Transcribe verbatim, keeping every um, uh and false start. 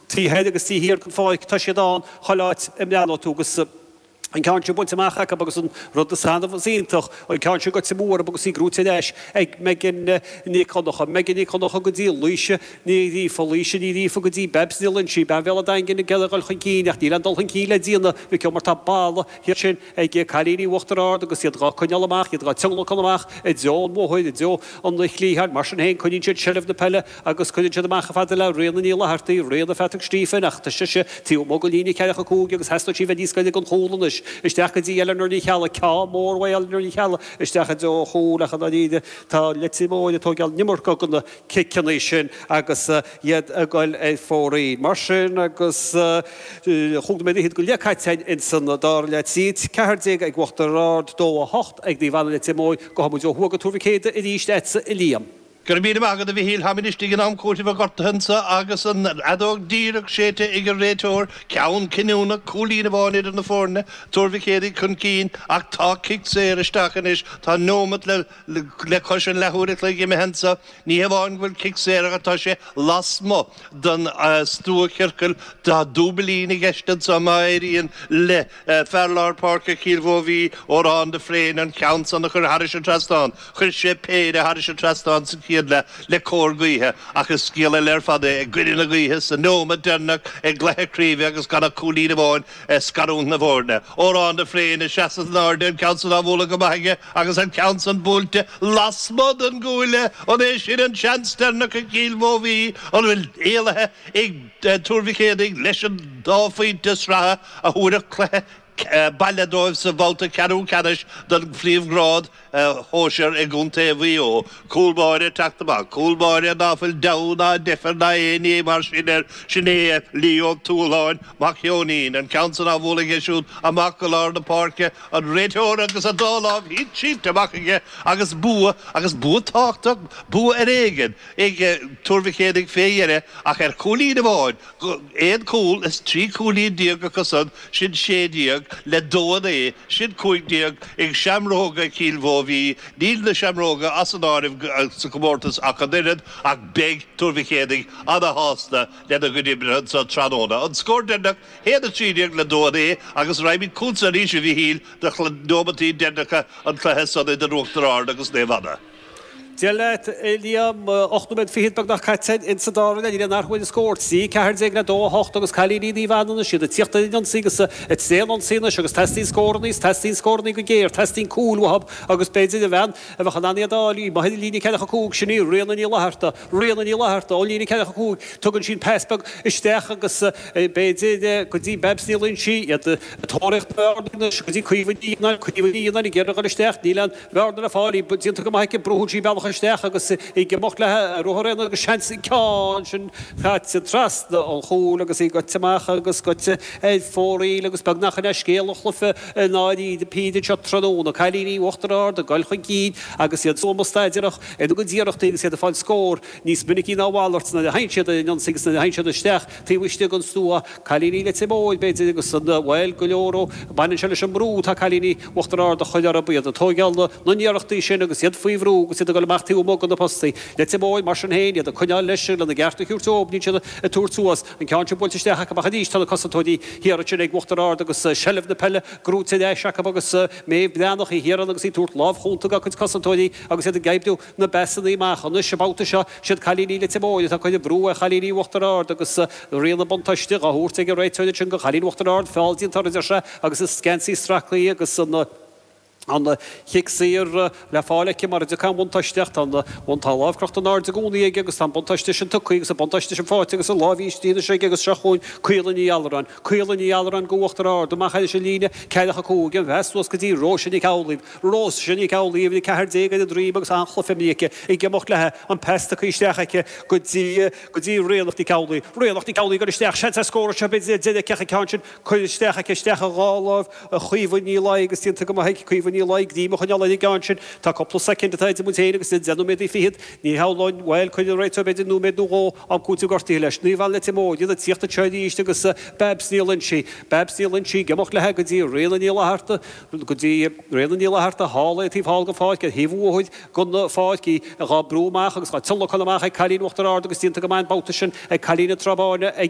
Taobh thoir agus taobh thiar den pháirc, tá siad ann chuile áit a mbreathnóidh tú agus an ceann sin bainte amach acu agus an rud is annamh is iontach, an ceann sin goite amú orthu agus í gnóite ar ais ag Megan Nic Dhonncha. Megan Nic Dhonncha go dtí Laoise Ní Ghríofa, Laoise Ní Ghríofa go dtí Babs Ní Loinsigh, bean Bhéal an Daingin ag iarraidh a dhul chun cinn ach níl aon dul chun cinn le déanamh, Mhic mar tá balla thiar ansin ag cailíní Uachtar Ard agus iad dhá coinneáil amach, iad dhá tionlacan amach i dtreo an bhóthair, i dtreo an chliatháin. Mar sin féin, coinníonn siad seilbh na peile agus cuireann siad amach chomh fada le Ríona Ní Fhlathartaigh, Ríona Phatrick Stephen, ach tá sise taobh amuigh de líne ceathracha cúig agus theastódh sí bheith níos gaire don chúl anois. Isteach go dtí Eleanor Ní Cheallaigh, ceann mór uaidh Eleanor Ní Cheallaigh isteach i dtreo an chúil ach i ndáiríre tá Leitir Móir ag tógáil an iomarca de na ciceanna sin agus iad ag goil ar fóraoil. Mar sin agus chúig nóiméad fhichead go leith caite againn ins an dara leath, trí ceathair déag ag Uachtar Ard, dó a hocht ag Naomh Anna Leitir Móir, gabhfaidh muid ó thuaidh go Tuar Mhic Éadaigh arís agatsa a Liam. Go raibh míle maith agat a Mhichíl. Táimid istigh in am cúitimh an ghortaithe anso agus an fheadóg díreach séidte ag an réiteoir. Ceann cinniúnach, cúilín amháin idir na foirne, Tuar Mhic Éadaigh chun cinn ach tá cic saor isteach anois. Tá neomat le le cois an leathuair a chloig imithe anso. Ní hamháin go bhfuil cic saor ach tá sé lasmuigh den stuachiorcal. Tá dúbailín i gceist anso má éiríonn le fear lár páirce Chill Mhóibhí, Odhrán de Fréin, an ceann san a chur thairis an trasnán. Chuir sé péire thairis an trasnán sa chéad leath le cóir gaoithe ach is scéal eile ar fad é i gcoinne na gaoithe sa neomat deireanach i gcluiche craoibhe agus gan ach cúilín amháin ag scarúint na bhfoirne. Odhrán de Fréin ag seasamh in airde, an ceann san á bhualadh go maith aige agus an ceann san buailte lasmuigh den gcuaille. An é sin an seans deireanach ag Cill Mhóibhí? An bhfuil éalaithe ag Tuar Mhic Éadaigh leis an dá phointe sraithe a thabharfadh cluiche baile dóibh sa bhabhta ceathrú ceannais den phríomhghrád shóisir i gContae Mhaigh Eo. Cúl báire ag teacht amach. Cúl báire ná fuil deabhadh ná deifir ná aon ní mar sin air. Sin é Leo Ó Tuathaláin, mac Sheoinín. An ceann san á bhualadh aige siúd amach go lár na páirce. An réiteoir agus a dá lámh sínte amach aige agus bua, agus bua tábhachtach, bua ar éigean ag Tuar Mhic Éadaigh fé dheireadh ach ar chúilín amháin. Aon chúl is trí chúilín déag acu san, sin sé déag, le dó a naoi, sin cúig déag, ag Seamróga Chill Mhóibhí. Níl na Seamróga as an áireamh sa chomórtas ach an oiread, ach beidh Tuar Mhic Éadaigh ana-shásta lena gcuid oibre anso tráthnóna. An scór deireanach, haon a trí déag le dó a naoi, agus raghaimid chugatsa arís, a Mhichíl, do neomataí deireanacha an chluiche san idir Uachtar Ard agus Naomh Anna. Dia leat, a Liam. Ocht nóiméad fichead beagnach caite in sa dara leath. Níl aon athrú ar an scór. Trí, ceathair déag le dó, a hocht agus cailíní Naomh Anna anois, iad ag tíocht ar an ionsaí agus ag tréan-ionsaí anois agus teastaíonn scórannaí is teastaíonn scórannaí go géar. Teastaíonn cúil uathu agus b'fhéidir an bhean a bheadh in ann iad a fháil í amuigh ar an líne ceathracha cúig, sin í Ríona Ní Fhlatharta. Ríona Ní Fhlatharta ón líne ceathracha cúig. Tugann sí an pas beag isteach agus b'fhéidir go dtí Babs Ní Loingsigh. Iad ag tóraíocht na mbearnaí anois go dtí Caoimhe Ní Fhionnáin. Caoimhe Ní Fhionnáin ag iarraidh a dhul isteach. Níl aon bhearna le fáil, í déanta go maith aici, brúann sí bealach isteach agus í ag imeacht léi ruathar aonair agus seans an ceann sin caite trasna an chúil agus í goite amach agus goite ar fóraoil agus beagnach in é scéal an chluiche i ndáiríre píre anseo tráthnóna. Cailíní Uachtar Ard ag dul chun cinn agus iad stuama staidéarach ina gcuid iarrachtaí agus iad ag fáil scór níos minicí ná a mhalairt nuair a thagann siad ar an ionsaí agus nuair a thagann siad isteach taobh istigh den stua. Cailíní Leitir Móir, b'fhéidir, agus an, bhuel, go leor ó, baineann sé leis an mbrú atá cailíní Uachtar Ard a chur orthu, iad ag tóigeáil na n-iarrachtaí sin agus iad faoi bhrú agus iad ag dul amach taobh amuigh de na postaí. Leitir Móir, mar sin féin, iad ag coinneáil leis lena gceart a thabhairt dóibh, níl siad ag tabhairt suas. An ceann sin buailte isteach acu ach arís tá na cosantóirí thiar ansin ag Uachtar Ard agus seilbh na peile gnóite ar ais acu agus Méabh Breathnach í thiar ann agus í ag tabhairt lámh chúnta dá cuid cosantóirí agus iad ag oibriú na bpasannaí amach. Anois, an babhta seo, siad cailíní Leitir Móir atá ag cur an bhrú ar chailíní Uachtar Ard agus Ríona buntáiste dhá thabhairt ag an réiteoir ansin do chailíní Uachtar Ard. Feall déanta orthu, a deir sé, agus is geansaí stractha agus an an chic saor le fáil aici mar a dtiocfaidh an bhuntáiste ach tá an tá a lámh crochta in airde i gcónaí aige agus tá an buntáiste sin tugtha agus an buntáiste sin faighte agus an lámh íslithe anois aige agus seo chugainn Caola Ní Alluráin. Caola Ní Alluráin go Uachtar Ard amach thairis an líne ceathracha cúig an phas suas go dtí Róise Nic Amhlaoibh. Róise Nic Amhlaoibh, uimhir a ceathair déag ar a droim agus an-chluiche imeartha aici ag imeacht léi, an pas tugtha isteach aici go dtí go dtí Ríonach Nic Amhlaoibh. Ríonach Nic Amhlaoibh ag dul isteach, seans ar scór anseo b'fhéidir ar deireadh aici ach an ceann sin curtha isteach aici isteach a dhá láimh Chaoimhe Ní Laoi agus déanta go maith ag Caoimhe Ní Laoi greim a choinneáil ar an gceann sin. Tá cúpla soicind atá idir muid féin agus deich nóiméad fichead. Ní shamhlóinn, bhuel, cuireann an réiteoir b'fhéidir nóiméad nó dhó am cúitimh gortaithe leis. Naomh Anna Leitir Móir, iad ag tíocht anseo arís agus Babs Ní Loingsigh, Babs Ní Loingsigh ag imeacht léi go dtí Ríona Ní Fhlatharta, go dtí Ríona Ní Fhlatharta thall ar an taobh thall den pháirc, ar thaobh an bhóthair den pháirc, í dhá brú amach agus dhá tionlacan amach ag cailín Uachtar Ard agus déanta go maith an babhta sin ag cailín na Trá Báine ag.